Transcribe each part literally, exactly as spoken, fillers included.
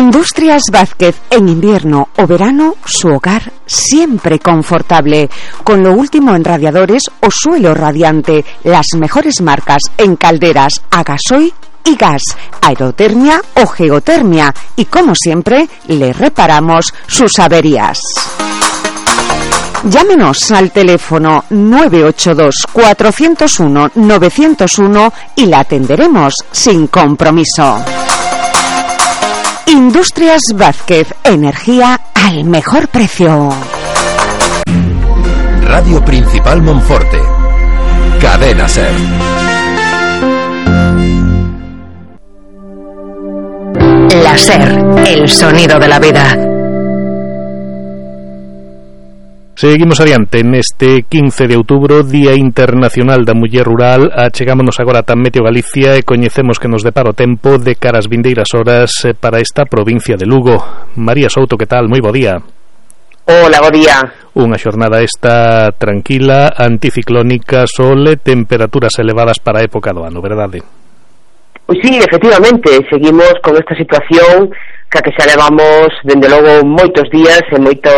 Industrias Vázquez, en invierno o verano, su hogar siempre confortable, con lo último en radiadores o suelo radiante, las mejores marcas en calderas a gasoil y gas, aerotermia o geotermia, y como siempre, le reparamos sus averías. Llámenos al teléfono nueve ocho dos, cuatro cero uno, nueve cero uno y la atenderemos sin compromiso. Industrias Vázquez, energía al mejor precio. Radio Principal Monforte. Cadena Ser. La Ser, el sonido de la vida. Seguimos adiante neste quince de outubro, Día Internacional da Muller Rural. Achegámonos agora a Meteo Galicia e coñecemos que nos depara o tempo de cara ás vindeiras horas para esta provincia de Lugo. María Souto, que tal? Moi bo día. Hola, bo día. Unha xornada esta tranquila, anticiclónica, sol e temperaturas elevadas para a época do ano, verdade? Pois sí, efectivamente, seguimos con esta situación que a que xa levamos, dende logo, moitos días e moito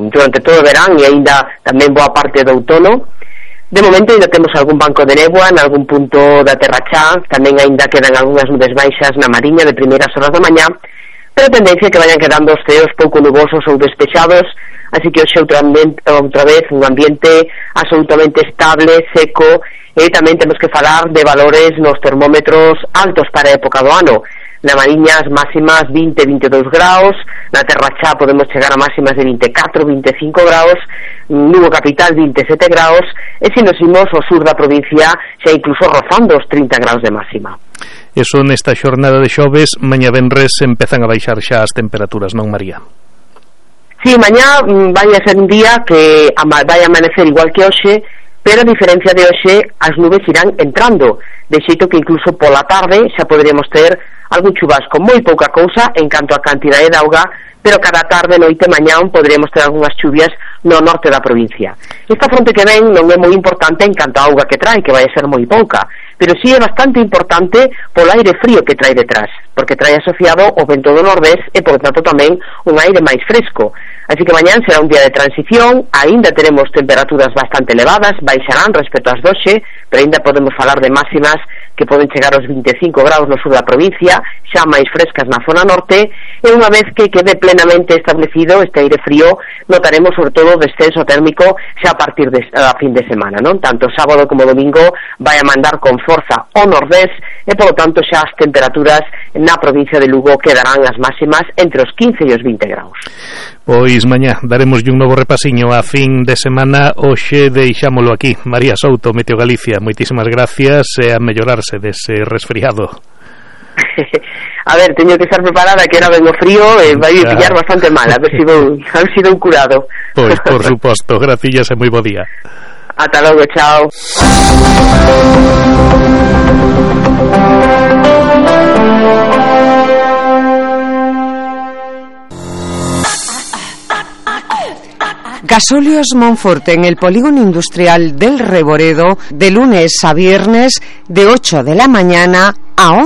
durante todo o verán e aínda tamén boa parte do outono. De momento ainda temos algún banco de néboa en algún punto da Terra Chá, tamén aínda quedan algunhas nubes baixas na Mariña de primeiras horas da mañá, pero a tendencia é que vayan quedando os ceos pouco nubosos ou despexados, así que hoxe outra, outra vez un ambiente absolutamente estable, seco, e tamén temos que falar de valores nos termómetros altos para a época do ano. Na Mariña as máximas vinte, vinte e dous graus, na Terra Chá podemos chegar a máximas de vinte e catro, vinte e cinco graus, Lugo capital vinte e sete graus, e se nos imos ao sur da provincia xa incluso rozando os trinta graus de máxima. Eso nesta xornada de xoves, mañá venres empezan a baixar xa as temperaturas, non, María? Sí, mañá vai a ser un día que vai a amanecer igual que hoxe, pero a diferencia de hoxe as nubes irán entrando, de xeito que incluso pola tarde xa poderíamos ter algún chubasco, moi pouca cousa en canto a cantidade de auga, pero cada tarde, noite, mañán poderíamos ter algunhas chuvias no norte da provincia. Esta fronte que ven non é moi importante en canto a auga que trae, que vai a ser moi pouca, pero sí é bastante importante polo aire frío que trae detrás, porque trae asociado o vento do nordés e, por tanto, tamén un aire máis fresco. Así que mañán será un día de transición, aínda teremos temperaturas bastante elevadas, baixarán respecto ás doxe, pero aínda podemos falar de máximas que poden chegar aos vinte e cinco graus no sur da provincia, xa máis frescas na zona norte, e unha vez que quede plenamente establecido este aire frío, notaremos sobre todo o descenso térmico xa a partir de a fin de semana, non? Tanto sábado como domingo vai a mandar con forza o nordés, e polo tanto xa as temperaturas na provincia de Lugo quedarán as máximas entre os quince e os vinte graus. Pois mañá daremos un novo repasiño a fin de semana. Hoxe deixámolo aquí. María Souto, Meteo Galicia, moitísimas gracias e a mellorarse dese resfriado. A ver, teño que estar preparada, que era ben o frío e vai a pillar bastante mal, a ver se vou, a ver se dou curado. Pois, por suposto, gracias e moi bo día. Ata logo, chao. Gasóleos Monforte, en el polígono industrial del Reboredo, de lunes a viernes, de ocho de la mañana a once.